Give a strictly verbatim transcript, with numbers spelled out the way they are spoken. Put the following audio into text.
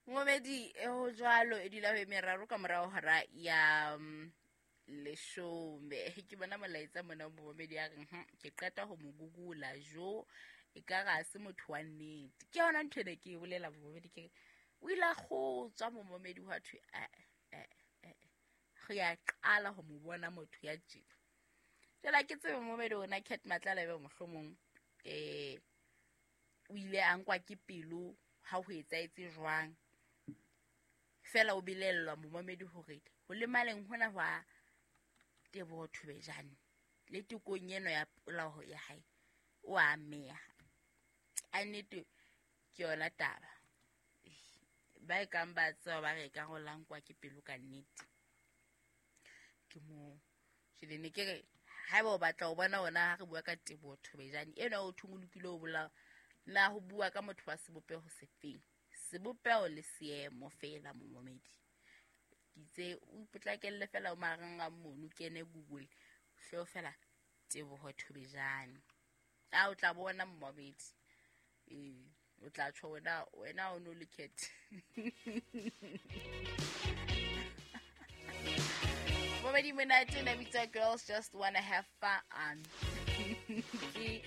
Momedi e ho jwalo e dula ho e meraro ka morao hora ya mm, leshome. Ke bona molaetsa mona momedi ya reng, "Hm, ke qeta ho mo gugula jo e ka re ha se motho wa nnete." Ke yona ntho ene ke e bolela momedi, ke re o ile a kgotswa momedi hwa thwe eh, eh, eh, re a qala ho mo bona motho ya tjena. Jwale ha ke tsebe momedi ona Cat Matlala ebe mohlomong eh o ile a nkwa ke pelo ha ho etsahetse jwang. Fela o belellwa momamedi hore ho lemaleng hona hwa Teboho Thobejane le tekong eno ya polao ya hae o a ameha. A nnete ke yona taba. Ba e kang ba tseba ba re e ka re o la nkwa ke pelo ka nnete. Ke moo. Jwale ne ke re haeba o batla ho bona ona ha re bua ka Teboho Thobejane ena o thong o lokile ho bolao, na ho bua ka motho wa sebopeho sefeng? Sebopeho le seemo fela momamedi. Ke itse o ipotlakelle fela o marangrang mono, kene Google, hle fela Teboho Thobejane. A o tla bona momamedi. Ee, o tla tjho wena, wena o no le Cat. Momedi monate na bitsa Girls Just Wanna Have Fun. Ke